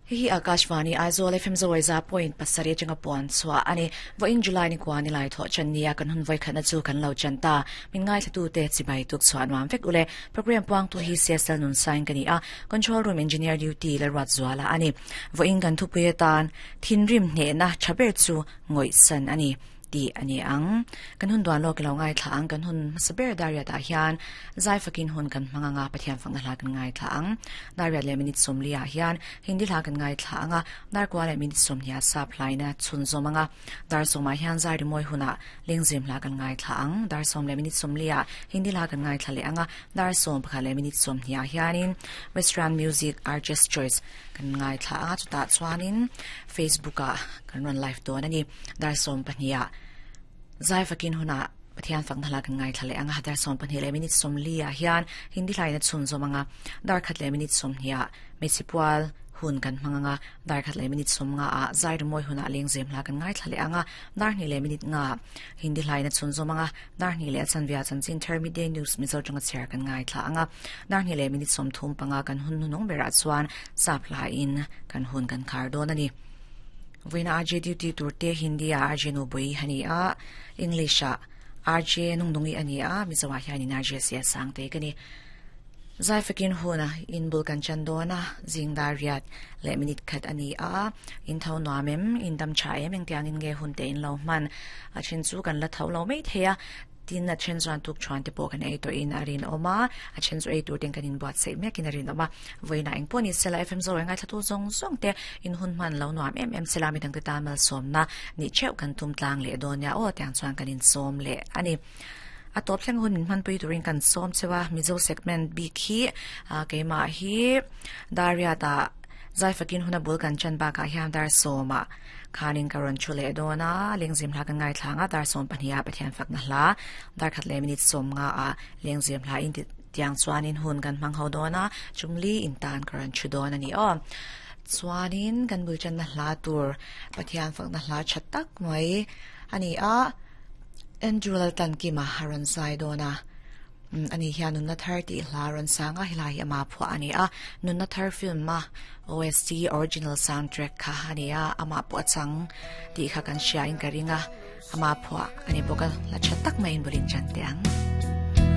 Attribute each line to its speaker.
Speaker 1: Hei hi Akashvani Aizawl FM Zawaiza point pasarih atanga puan chhuah a ni. Vawiin July ni kua ni lai thawh chan nia kan hun vawikhatna chu kan lo chan ta. Min ngaithlatute chibai tuk chhuah nuam vek ule. Program puangtu hi CSL Nunsain ka ni a, Control Room Engineer Duty Lalruat Zuala a ni. Vawiin kan thupui atan thinrim hnehna tha ber chu ngawihsan a ni. Tih a ni ang. Kan hun duan lawk i lo ngaithla ang. Kan hun hmasa ber Dariat ah hian zai fakin hun kan hmang ang a, Pathian fakna hla kan ngaithla ang. Dariat leh minute 40 ah hian Hindi hla kan ngaithla ang a, Darkua leh minute 20 ah sap hlaina chhunzawm ang a. Dar sawmah hian zai rimawi hunah Lengzem hla kan ngaithla ang. Dar sawm leh minute 40 ah Hindi hla kan ngaithla leh ang a, dar 11 leh minute 20 ah hianin Western Music Artist Choice kan ngaithla ang a, chutah chuanin Facebook ah kan rawn live dawn a ni. Dar 12 ah zai fakin hunah Pathian fakna hla kan ngaithla leh ang a, dar 12 leh minute 40 ah hian Hindi hlain a chhunzawm ang a, dar khat leh minute 20 ah Hmeichhe pual hun kan hmang ang a, dar khat leh minute 50 ah zai rimawi hunah lengzem hla kan ngaithla leh ang a, dar hnih leh minute nga Hindi hlain a chhunzawm ang a, dar hnih leh a chanvia chanchin thar Midday News Mizo tanga chhiar kan ngaithla ang a, dar hnih leh minute 35 kan hun hnuhnung berah chuan sap hlain kan hun kan khar dawn a ni. Vawiina RJ duty tur te Hindi ah RJ Nubui a ni a, English ah RJ Nungdungi a ni a, Mizo ah hianin RJ Sia Sangte ka ni. Zai fakin hun a in bul kan chan dawn a, zing dar riat leh minute khat a ni a, in tho nuam em, in dam tha em, engtiangin nge hun te in lo hman a then chu kan la tho lo mai thei a, tin a then chuan tuk thuan te pawh kan ei tawhin a rinawm a, a then chu ei tur ten kan inbuatsaih mekin a rinawm a, vawiinah eng pawh ni sela FM Zoe ngaithla tu zawng zawng te in hun hman lo nuam em em sela midangte tan malsawmna nih theuh kan tum tlang leh dawn nia aw tiang chuan kan insawm leh a ni. A tawp thleng hun min hmanpui turin kan sawm cheu a, Mizo segment bik hi keimah hi Dariat-ah zai fakin huna bul kan chan bakah hian dar sawmah khanin ka rawn thu leh dawn a, lengzem hla kan ngaithla ang a, dar sawm pahniha Pathian fakna hla dar khat leh minute 50 ah lengzem hla in tiang chuanin hun kan hmang ho dawn a, chungli in tan ka rawn thu dawn a ni aw. Chuanin kan bul channa hla tur Pathian fakna hla tha tak mai a ni a. Andrew Laltankima a rawn zai dawn a, ani hian Nunna Thar tih hla rawn sang a, helai hi ama phuah a ni a, Nunna Thar film a OST, Original Soundtrack, kha a ni a, amah pawh a chang tih kha kan hria in ka ring a, ama phuah a ni bawk a, hla tha tak maiin bul in chan teh ang.